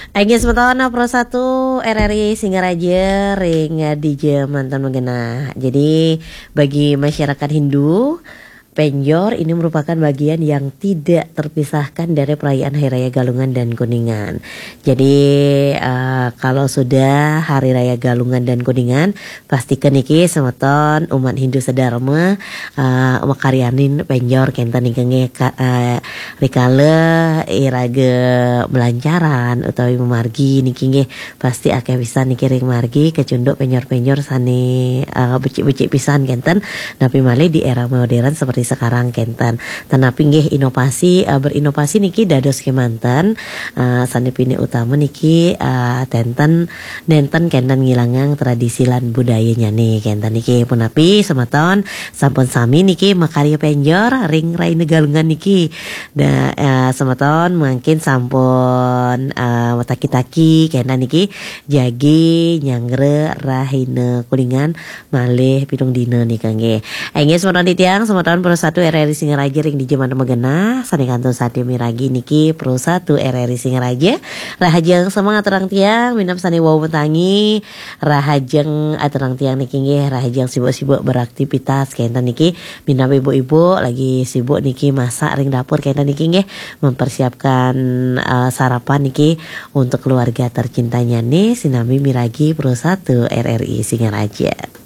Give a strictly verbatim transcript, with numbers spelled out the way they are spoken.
Inggih semeton, Pro satu R R I Singaraja ring dija manten magenah. Jadi bagi masyarakat Hindu, Penjor ini merupakan bagian yang tidak terpisahkan dari perayaan Hari Raya Galungan dan Kuningan. Jadi uh, kalau sudah Hari Raya Galungan dan Kuningan, pastikan niki semeton umat Hindu sedharma uh, makaryanin penjor kenten niki nggih, uh, rikala iraga melancaran utawi mamargi niki nggih, pasti akeh pisan niki ring margi kecunduk penjor-penjor sane uh, becik-becik pisan kenten, napi malih di era modern seperti sekarang kenten. Tetapi nggih inovasi, uh, berinovasi niki dados kemanten uh, sane pinih utama niki uh, tenten nenten kenten ngilangang tradisi lan budayanyane kenten niki. Punapi semeton sampun sami niki makarya penjor ring raina Galungan niki. Da, uh, semeton mungkin sampun uh, mataki-taki kenten niki jagi nyanggra rahina Kuningan malih pitung dina nika nggih. Inggih semeton titiang, semeton Pro satu R R I Singaraja ring dija manten magenah, sane kantun sadia miragi niki Pro satu R R I Singaraja. Rahajeng semangat aturang tiang, minab sane wau matangi, rahajeng aturang tiang niki nggih, rahajeng sibuk-sibuk beraktivitas kenten niki, minab ibu-ibu lagi sibuk niki masak ring dapur kenten niki nggih, mempersiapkan uh, sarapan niki untuk keluarga tercintanya nih, sinambi miragi Pro satu R R I Singaraja.